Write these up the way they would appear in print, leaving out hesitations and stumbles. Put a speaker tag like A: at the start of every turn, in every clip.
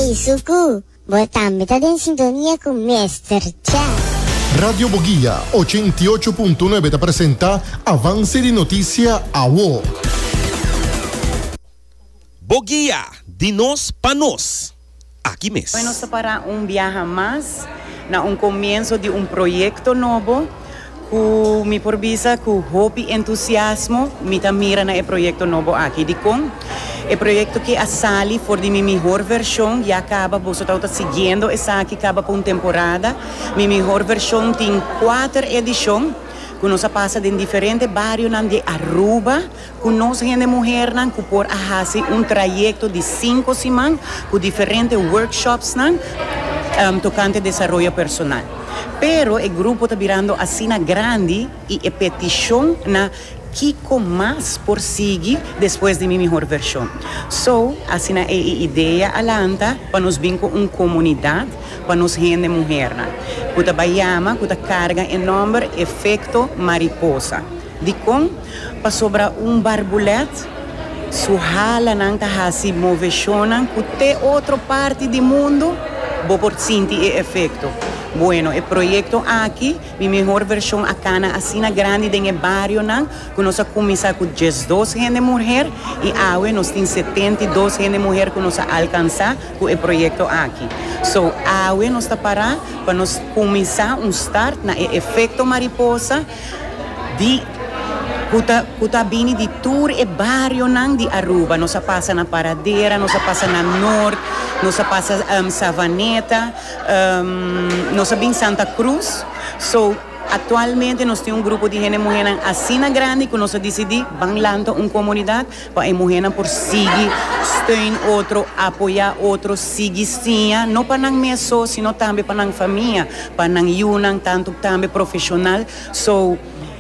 A: Ey Suku, bo tambe ta den sintonia ku Mister Cha.
B: Radio Boguia 88.9 ta presenta Avance di Noticia Awo.
C: Boguia, di nos pa nos. Aki mes.
D: Hoy nos ta para un biaha mas na un comienzo di un proyecto nobo cu mi por bisa cu hopi entusiasmo mi ta mira na e proyecto nobo aki. Dicon? E proyecto ki a sali for di mi mihor version ya caba, boso tabata siguiendo esaki caba pa un temporada. Mi mihor version tin cuater edicion cu nos a pasa den diferente barionan di Aruba. Ku nos hende muhernan ku por a hasi un trayekto di sinku siman ku diferente workshopsnan tokante desaroyo personal. Pero e grupo ta birando asina grandi i e petishon na kiko mas por sigui despues di Mi Mihor Vershon. So, asina e e idea a lanta pa nos bin ku un komunidat pa nos hende muhernan ku ta bai yama ku ta karga e nòmber Efekto Mariposa. Dikon? Pasobra un barbulèt su halanan ta hasi moveshonnan ku te otro parti di mundu bo por sinti e efekto. Bueno, e proyekto aki, Mi Mehor Vershon a kana asina grandi den e barionan ku nos a kuminsá ku diesdos hende muher i awe nos tin 72 hende muher ku nos a alkansá ku e proyekto aki. So, awe nos ta pará pa nos kuminsá un start na e efekto mariposa. Di cu ta cu ta bini di tur e barionan di Aruba. Nos a pasa na Paradera, nos a pasa na Noord, nos a pasa Savaneta, nos a bin Santa Cruz. So, actualmente nos tin un grupo di hende muhernan asina grandi cu nos a dicidi ban lanta un comunidad pa e muhernan por sigui steun otro, apoya otro, sigui siña, no pa nan mes so, sino tambe pa nan famia, pa nan yunan, tanto tambe profesional. So,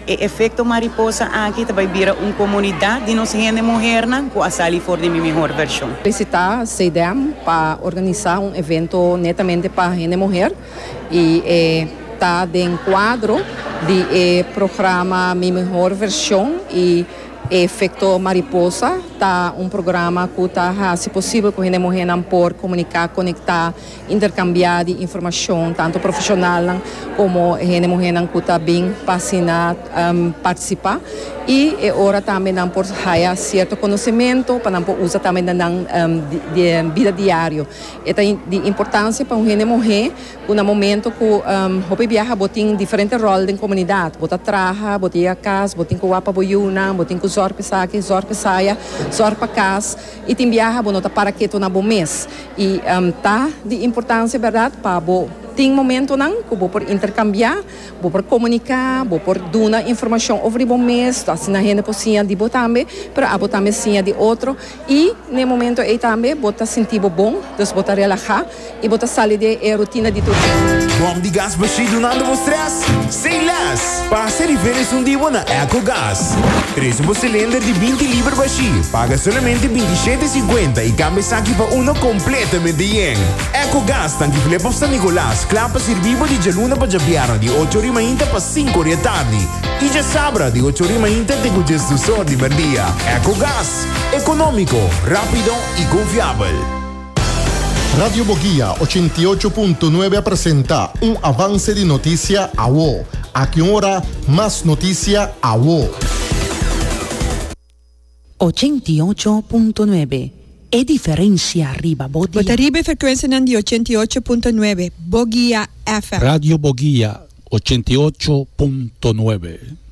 D: e efecto mariposa aki ta bay bira un comunidad di nos hende muhernan cu a sali for di mi mihor version.
E: Felicita CDM pa organisa un evento netamente pa hende muher y e ta den cuadro di e programa Mi Mihor Version y Efecto Mariposa ta un programa cu ta haci posibel cu hende muhernan por comunica, conecta, Interkambiá di informashon tantu profeshonalnan komo hende muhénan ku ta bin pa asina partisipá i e ora tambe nan por haya sierto konosementu pa nan por usa tambe den nan bida diario. E ta di importansia pa un hende muhé ku na momento ku hopi biaha bo tin diferente ròl den komunidat, bo ta traha, bo ta yega kas, bo tin ku wak pa bo yunan, bo tin ku zòrg pa esaki, zòrg pa esaya, zòrg pa kas i tin biaha bo no ta para ketu na bo mes. I ta di importancia berdad pa bo tin momentonan cu bo por intercambia, bo por comunica, bo por duna informacion over di bo mes, asina hende por siña di bo tambe, pero abo tambe siña di otro y n'e momento ey tambe bo ta sinti bo bon, dus bo ta relaha y bo ta sali di e rutina di tur dia.
F: Bom di gas bashí dunando bo stress? Say less! Pasa riba esun di bo na Ecogas. Trese bo cilinder di binti liber bashí, paga solamente binti shete sinkuenta i kambia esaki pa uno kompletamente yen. Ecogas tanki Flip of San Nicolas, kla pa sirbi bo di djaluna pa djabièrnè di ocho ori mainta pa sinku ori atardi i djasabra di ocho ori mainta te ku djesdus or di merdia. Ecogas, ekonómiko, rápido i konfiabel.
B: Radio Boguia 88.9 a presenta un avance di noticia awo. Aki un ora, mas noticia awo.
G: 88.9 E diferencia riba bo
H: Bo ta
G: dia.
H: riba e frekuensianan di 88.9 Boguia FM.
I: Radio Boguia 88.9.